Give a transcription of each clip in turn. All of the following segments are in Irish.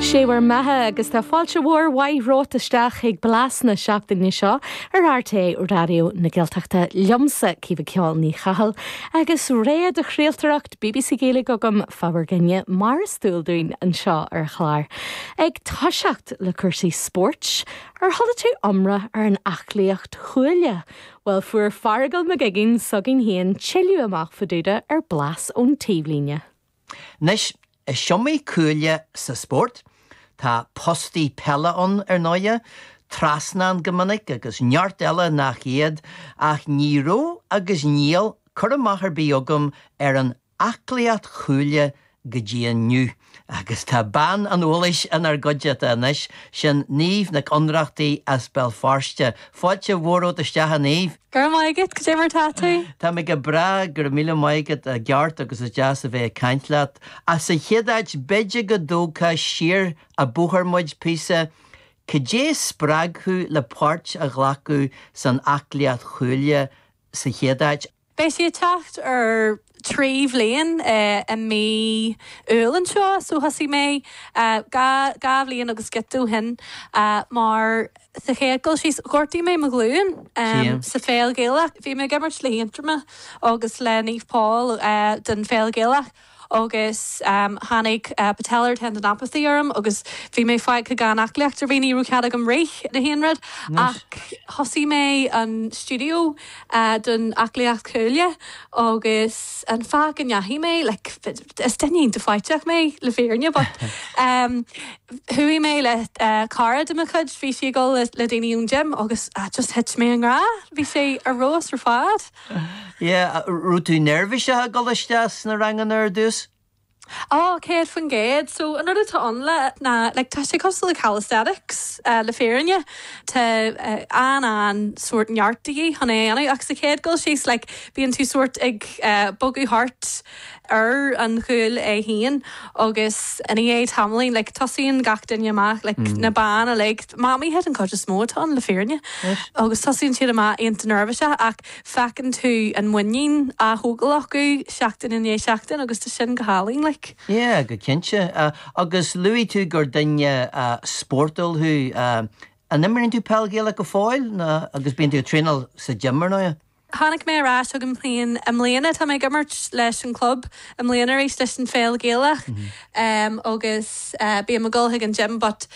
Sé bhur mbeatha agus tá fáilte mhór mhaith romhat isteach chuig Blas na seachtaine seo ar RTÉ Raidió na Gaeltachta liomsa, Caoimhe Ceol Ní Chathail, agus rogha de chraoltóireacht BBC Gaeilge agam fá bhur gcoinne mar is dual dúinn anseo ar an chlár. Ag toiseacht le cúrsaí spóirt, ar chuala tú iomrá ar an aclaíocht chuaille? Bhuel fuair Feargal Mac Uiginn s'againn féin tuilleadh amach fá dtaobh de ar Blas ón Taobhlíne. Anois, is iomaí cuaille sa spórt. Tá postaí peile ann, ar ndóighe, trasnán go minic agus neart eile nach iad, ach ní raibh agus níl cur amach ar bith agam ar an aclaíocht chuaille go dtí inniu. Agus tá bean an eolais inár gcuideachta anois, sin Niamh Nic Ionnrachtaigh as Béal Feirste. Fáilte mhór romhat isteach, a Niamh. Go raibh maith agat, cad é mar tá tú? Tá mé go breá, go raibh míle maith agat, i gceart agus is deas a bheith ag caint leat. Ach sa chéad áit, b'fhéidir go dtógfá siar an bóthar muid píosa, cad é a spreag thú le páirt a ghlacadh san aclaíocht chuaille sa chéad áit? Beidh sé ag teacht ar 3 bhliain i mí Iúil anseo so thosaigh mé 2 bhliain agus giota ó shin mar sa chéad dul síos ghortaigh mé mo ghlúin sa pheil Ghaelach. Bhí mé ag imirt le hAontroim agus le Naomh Pól den pheil Ghaelach agus tháinig patellar tendinopathy orm agus bhí mé fágtha gan aclaíocht ar bith, ní raibh cead agam rith ná haon rud ach thosaigh mé an stiúideo don aclaíocht chuaille agus an fáth go ndeachaigh mé, like is duine iontach faiteach mé le fírinne but chuaigh mé le cara de mo chuid, bhí sí ag dul le daoine ón gym agus just thit mé i ngrá, bhí sé ar fheabhas ar fad. Yeah, raibh tú neirbhíseach ag dul isteach sna ranganna ar dtús? Á, 100%. So, an rud atá ann le ná, like, tá sé cosúil le calisthenics, le fírinne. Tá an-an sórt neart de dhíth chun é a dhéanamh ach sa chéad dul síos, like, bíonn tú sórt ag bogadh thart ar an chuaille é féin agus i ndiaidh tamaillín, like, tosaíonn gach duine amach, like, na ban uilig, mamaithe den chuid is mó atá ann, le fírinne, agus tosaíonn siad amach iontach neirbhíseach ach feiceann tú an muinín á thógáil acu seachtain i ndiaidh seachtain agus tá sin go hálainn, like. Yeah, go cinnte. Agus luaigh tú gur duine spórtúil thú. An imríonn tú peil Ghaelach go fóill nó agus bíonn tú ag traenáil sa gym ar ndóigh? Tháinig mé ar ais chugam féin i mbliana. Tá mé ag imirt leis an club i mbliana arís leis an pheil Ghaelach agus bím ag dul chuig an gym but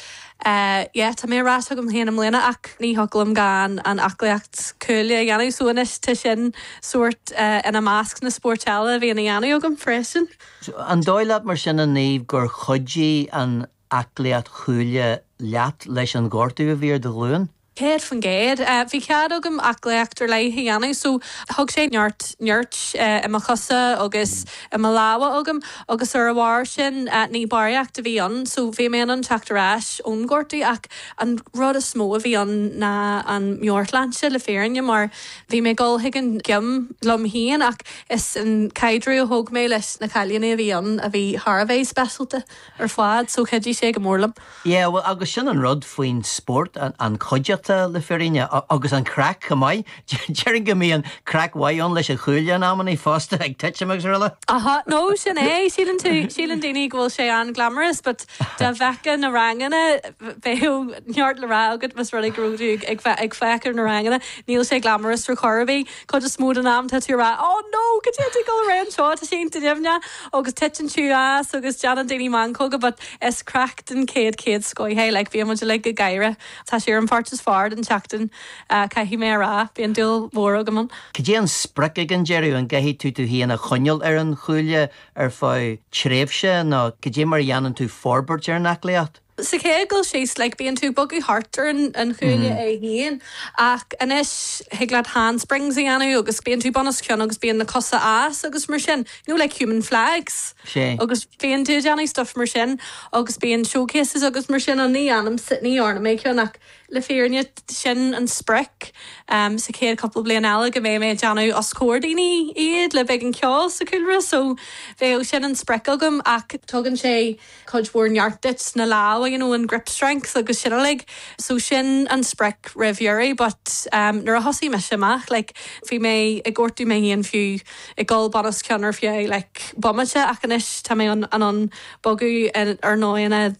yeah tá mé ar ais chugam féin i mbliana ach ní thiocfadh liom gan an aclaíocht cuaille a dhéanamh so anois tá sin sórt ina measc na spóirt eile a bhíonn á dhéanamh agam freisin. An dóigh leat mar sin a Niamh gur chuidigh an aclaíocht chuaille leat leis an ghortú a bhí ar do ghlúin? 100%. Bhí cead agam aclaíocht ar leith a dhéanamh so thug sé neart nirt i mo chosa agus i mo lámha agam agus ar a bharr sin ní barraíocht a bhí ann so bhí mé in ann teacht ar ais ón ghortú ach an rud is mó a bhí ann ná an meabhairshláinte le fírinne mar bhí mé ag dul chuig an gym liom féin ach is an caidreamh a thóg mé leis na cailíní a bhí ann a bhí thar a bheith speisialta ar fad so chuidigh sé go mór liom. Yeah, bhuel, agus sin an rud faoin spórt, an chuideachta le fírinne, agus an craic chomh maith. Déarfainn go mbíonn craic mhaith ann leis an chuaille in amannaí fosta, ag titim agus araile. Aha, no, sin é, síleann tú, síleann daoine go bhfuil sé an-glamorous but dá bhfeicfeá na ranganna, bheadh neart le rá agat más rud é go raibh tú ag, ag féach ar na ranganna. Níl sé glamorous ar chor ar bith. Cuid is mó den am tá tú ag rá, oh no, cad é atá ag dul ar aghaidh anseo, tá sé iontach nimhneach agus titeann tú as agus déanann daoine meancóga but Is craic den chéad chéad scoith é, like bíonn muid uilig ag gáire. Tá sé ar an pháirt is fearr den tseachtain, caithfidh mé a rá. Bíonn dúil mhór agam ann. Cad é an sprioc ag an deireadh? An gcaithfidh tú tú féin a choinneáil ar an chuaille ar feadh tréimhse nó cad é mar a dhéanann tú forbairt ar an aclaíocht? Sa chéad dul síos, like bíonn tú ag bogadh thart ar an chuaille é féin ach anois thig leat handsprings a dhéanamh agus bíonn tú bun os cionn agus bíonn na cosa as agus mar sin, you know like human flags. Sea. Agus bíonn tú ag déanamh stuff mar sin agus bíonn showcases agus mar sin ann, ní dhéanaimse, ní dhearna mé ceann ach le fírinne sin an sprioc sa chéad cúpla bliain eile go mbeidh mé ag déanamh os comhair daoine iad le beagán ceoil sa chúlra so bheadh sin an sprioc agam ach tugann sé cuid mhór neart duit sna lámha, you know, an grip strength agus sin uilig. So sin an sprioc roimh dheireadh but nuair a thosaigh mise amach like bhí mé ag gortú mé féin fiú ag dul bun os cionn ar feadh like bomaite ach anois tá mé in ann bogadh ar ndóigheanna.